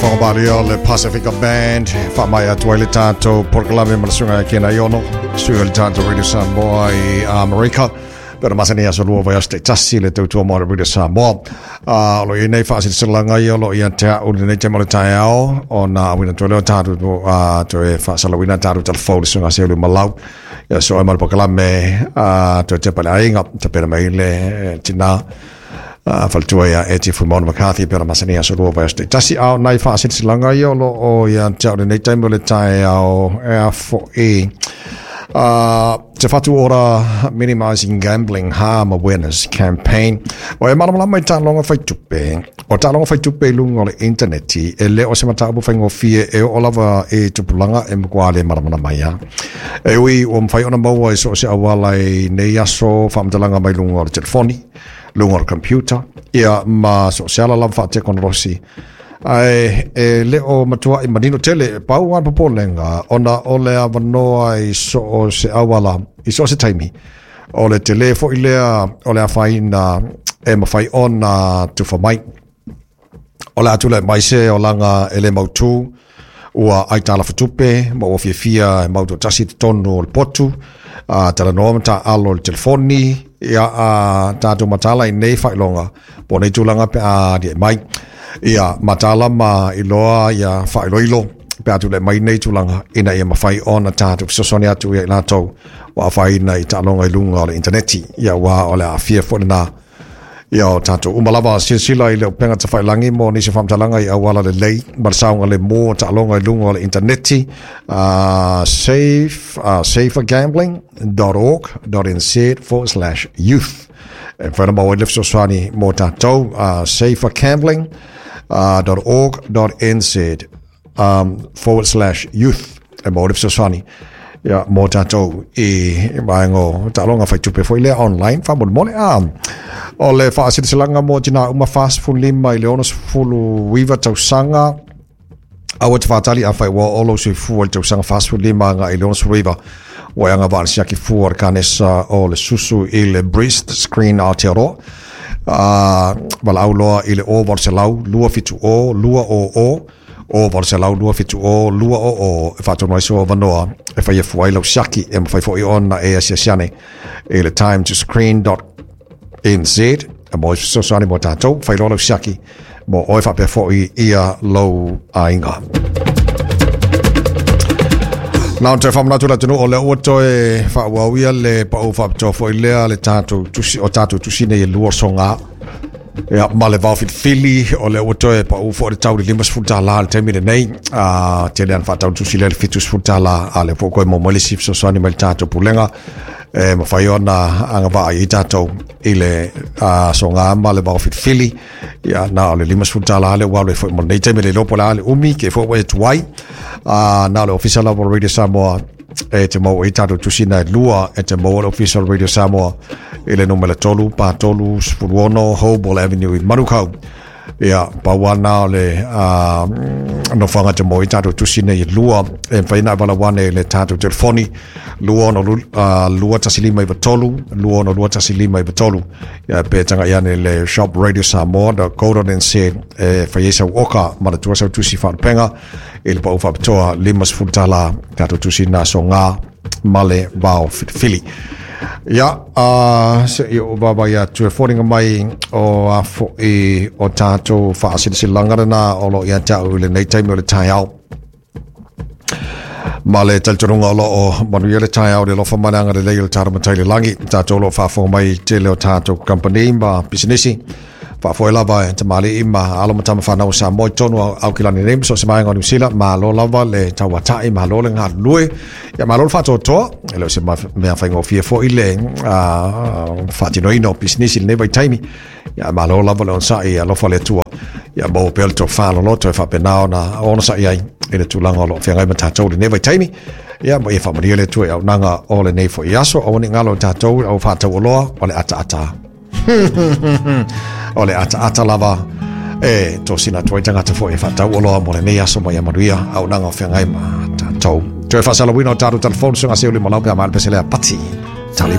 Fagavalia o le Pacifica Band faamaea atu ai le tatou polokalame ma le susuga ia Ken Aiono, sui o le tatou Radio Samoa i Amerika. Pe ona masani aso lua vaiaso taitasi le tautua mo le Radio Samoa. O lo o i ai nei faasilasilaga ia o lo o ia te au i lenei taimi o le taeao ona auina atu ai lea o tatou toe faasalauina tatou talafou le susuga Seuli Malau. Ia so ai ma le polokalame toe tepa i le aiga tapena mai le tina faletua ia Eti Fuimaono McCarthy pe ona masani aso lua vaiaso taitasi. A o nai faasilasilaga ia o lo o ia te au i lenei taimi o le taeao e a fo'i Te Whatu Ora Minimising Gambling Harm Awareness Campaign. O e malamalama i taaloga fai tupe. O taaloga fai tupe i luga o le intaneti, e le o se mataupu faigofie e oo lava i tupulaga e matua le malamalama ai lava. E ui ua mafai ona maua i so o se auala i nei aso faamatalaga mai luga o le telefoni, luga o le computer, ia ma so o se ala lava faatekonolosi. Ae e le o matuai manino tele, pau lava le popolega ona o le avanoa i so o se auala, i so o se taimi, o le tele foi lea o le afaina e mafai ona tufa mai. O le a tulai mai se olaga e le mautū, ua aitalafutupe ma ua fiafia e mau toatasi i totonu o le potu, a talanoa ma taaalo i le telefoni, ia a tatou mataala i nei faailoga po o nei tulaga pe a aliae mai. Ia mataala ma iloa ia faailoilo pe a tulai mai nei tulaga ina ia mafai ona tatou fesoasoani atu ia i latou ua afaina i taaloga i luga o le intaneti. Ia aua o le aafia foi lena ia o tatou uma lava. Silasila i le upega tafailagi mo nisi o faamatalaga i auala lelei ma le saogalemu o taaloga i luga o le intaneti, safe, safergambling.org.nz/youth. E mafai ona maua ai le fesoasoani mo tatou, safergambling.org.nz /youth e maua ai le fesoasoani ia mo tatou i vaega o taaloga fai tupe foi lea online faamolemole. A o le faasilasilaga mo tinā uma 45 i le 69 tausaga, aua te faatali afai ua oo lou soifua i le tausaga 45 agai i le 69 ua e agavaa i le siaki fua o le kanesa o le susu i le Breast Screen Aotearoa. Valaau loa i le 0800 270 200, 0800 270 200 e faatonu ai sou avanoa e faia fua ai lau siaki. E mafai foi ona e asiasi ane i le timetoscreen.nz e maua ai fesoasoani mo tatou. Fai loa lau siaki mo oe faapea foi ia lou aiga. Na ona toe faamanatu i le atunuu o lea ua toe faaauau ia le pau faapitoa foi lea le tatou tusi, o tatou tusi nei e lua soga. Ia, ma le vao filifili, o lea ua toe pau foi le tau i le $50 i le taimi lenei. Tele ana faatau tusi lea i le $70, a o lea foi ua toe maua mai le isi fesoasoani mai le tatou pulega e mafai ona agavaa ai tatou i le soga ma le vao filifili. Ia, na o le $50 lea ua alu ai foi mo lenei taimi, le iloa po o le a le umi, ke foi ua e tuai. Na o le Ofisa lava o Radio Samoa e te maua ai tatou tusi na e lua, e te maua le Ofisa o Radio Samoa i le numera 3 pa 3 16 Hoball Avenue i Manukau. Ia, pau lava na o le nofoaga e te maua ai tatou tusi nei e lua. E mafai ona e valaau ane i le tatou telefoni 262 1593, 262 1593. Ia, pe tagai ane i le shopradiosamoa.co.nz e fai ai sau oka ma le tua sau tusi faalupega i le pau faapitoa $50 tatou tusi na soga ma le vao filifili. Ia, se i ou vaavaai atu e foliga mai o a foi o tatou faasilasilaga lena o lo o ia te au i lenei taimi o le taeao. Ma le talitonuga o lo o manuia le taeao i le alofa ma le agalelei o le tatou Matai i le lagi, tatou o lo o faafofoga mai i le tele o tatou kamupani ma pisinisi. Faafoe lava e tamalii ma alo ma tama fanau o Samoa i totonu o Aukilani nei ma so o se vaega o Niu Sila. Malo lava le tauatai, malo le galulue, ia malo le faatoatoa. E le o se mea faigofie foi le faatinoina o pisinisi i lenei vaitaimi. Ia malo lava le onosai, alofa le Atua. Ia maua pea le tofa loloto e faapena ona onosai ai i le tulaga o lo o feagai ma tatou i lenei vaitaimi. Ia ma ia faamanuia le Atua i auaunaga o lenei foi aso. Aua ne i galo i tatou au faataualoa o le ataata. O le ataata lava e tosina atu ai tagata foi e faataualoa mo lenei aso ma ia manuia auaunaga o feagai ma tatou. Toe faasalauina o tatou telefoni suiga seu lima lau pe a maea le pese lea pati.